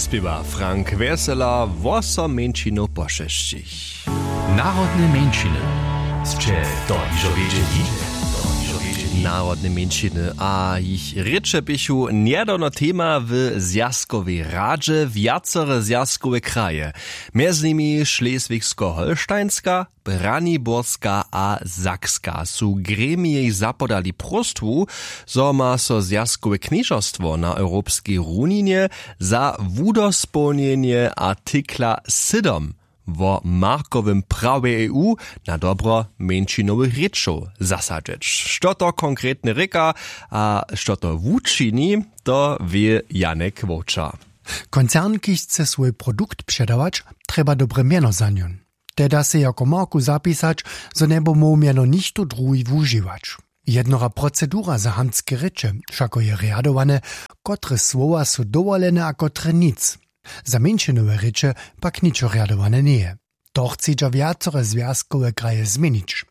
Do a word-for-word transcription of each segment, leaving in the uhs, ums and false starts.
Spěwa Frank Wjesela, wósom mjeńšinow pošesćich. Narodne mjeńšiny. Sće to hižo wědźeli? Narodne mjeńšiny a jich rěče běchu njedawno tema w Zwjazkowej radźe. Wjacore zwjazkowe kraje, mjez nimi Šleswigsko-Holštajnska, Braniborska a Sakska, su gremijej zapodali próstwu, zo ma so zwjazkowe knježerstwo na europskej runinje za wudospołnjenje artikla sydom wo markowym prawje E U na dobro mjeńšinowych rěčow zasadźeć. Što to konkretnje rěka a što to wučini, to wě Janek Wowča. Koncern, kiž chce swój produkt předawać, trjeba dobre mjeno za njon. Te da sej jako marku zapisać, zo njeby móhł mjeno nichtó druhi wužiwać. Jednora procedura za hamtske rěče, wšako je rjadowane, kotre słowa su dowolene a kotre nic. Za mjeńšinowe rěče pak ničo rjadowane njeje. To chcedźa wjacore zwjazkowe kraje změnić.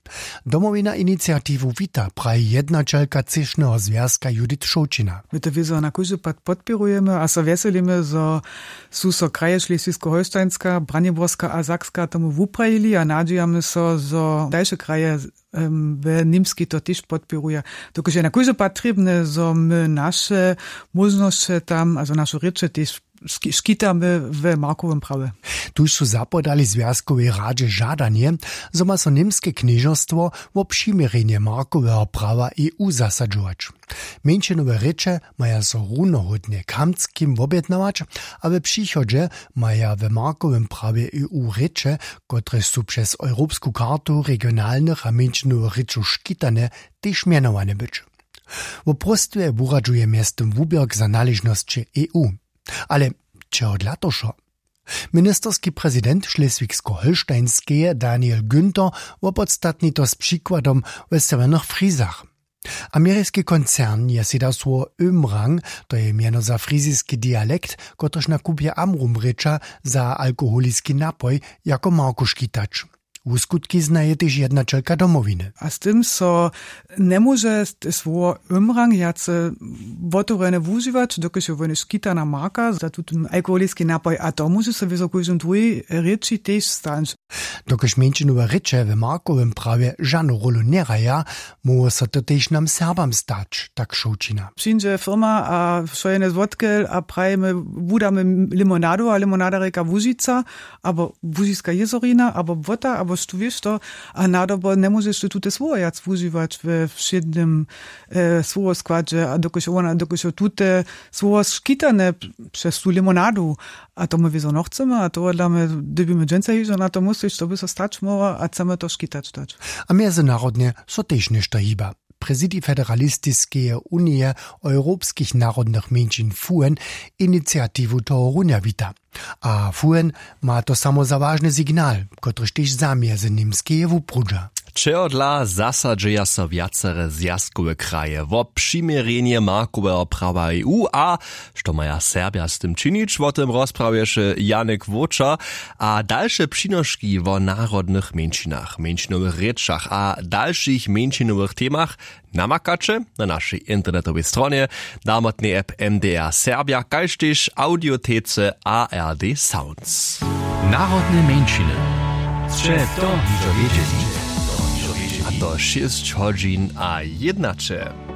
Domowina iniciatiwu wita, praji jednaćelka třěšneho zwjazka Judith Šołćina. My to wězo na kóždy pad podpěrujemy a so wjeselimy, zo su so kraje Šleswigsko-Holštajnska, Braniborska a Sakska tomu wuprajili a nadźijamy so, zo dalše kraje we Němskej to tež podpěruja. Dokelž je na kóždy pad trěbne, zo my naše móžnosće tam, a zo naše rěče tež škitamy we markowym prawje. Tuž su zapodali zwjazkowej radźe žadanje, zo ma so němske knježerstwo wo přiměrjenje markoweho prawa E U zasadźować. Mjeńšinowe rěče maja so runohódnje k hamtskim wobjednawać a we přichodźe maja we markowym prawje E U rěče, kotrež su přez europsku kartu regionalnych a mjeńšinowych rěčow škitane, tež mjenowane być. Wo próstwje wuradźuje mjeztym wuběrk za naležnosće E U. Ale čehodla to wšo? Ministerski prezident Šleswigsko-Holštajnskeje Daniel Günther wopodstatni to z přikładom we sewjernych Frizach. Ameriski koncern je sej dał słowo Ömrang, to je mjeno za friziski dialekt, kotryž na kupje Amrum rěča za alkoholiski napoj, jako marku škitać. Wuskutki znaje tež jednaćelka Domowiny. A z tym so njemóže słowo Ömrang wjace wotewrjene wužiwać, dokelž je wone škitana marka za tutón alkoholiski napoj, a to móže so wězo kóždym druhej rěči tež stać. Dokelž mjeńšinowe rěče we markowym prawje žanu rólu njehraja, móhło so to tež nam Serbam stać, tak Šołćina. Přińdźe firma a wšojene złotkel a prajimy, wudamy limonadu a limonada rěka Łužica, abo Łužiska jězorina, abo błota, abo štó wěš to, a nadobo njemóžeš ty tute słowa wjac wužiwać we wšědnym słowoskładźe, a dokelž wona dokelž jo tute słowa škitane přez tu limonadu, a to my wězo nochcemy a tohodla my dyrbimy dźensa hižo na to myslić, što by so stać móhło, a chcemy to škitać dać. A mjezynarodnje so tež něšto hiba. Prezidij federalistiskeje unije europskich narodnych mjeńšin fuen iniciatiwu tohorunja wita. A fuen ma to samo za wažny signal, kotryž tež za mjezyněmskeje wuprudźa. Čehodla zasadźeja so wjacore zwjazkowe kraje wo přiměrjenje markoweho prawa E U a što maja Serbja z tym činić, wo tym rozprawješe Janek Wóča. A dalše přinoški wo narodnych mjeńšinach, mjeńšinowych rěčach a dalšich mjeńšinowych temach namakaće na našej internetowej stronje, damotnej app M D R Serbja, kaž tež audiotece A R D Sounds. Narodne mjeńšiny. Sće to hižo wědźeli? A to šěsć hodźin a jednaće.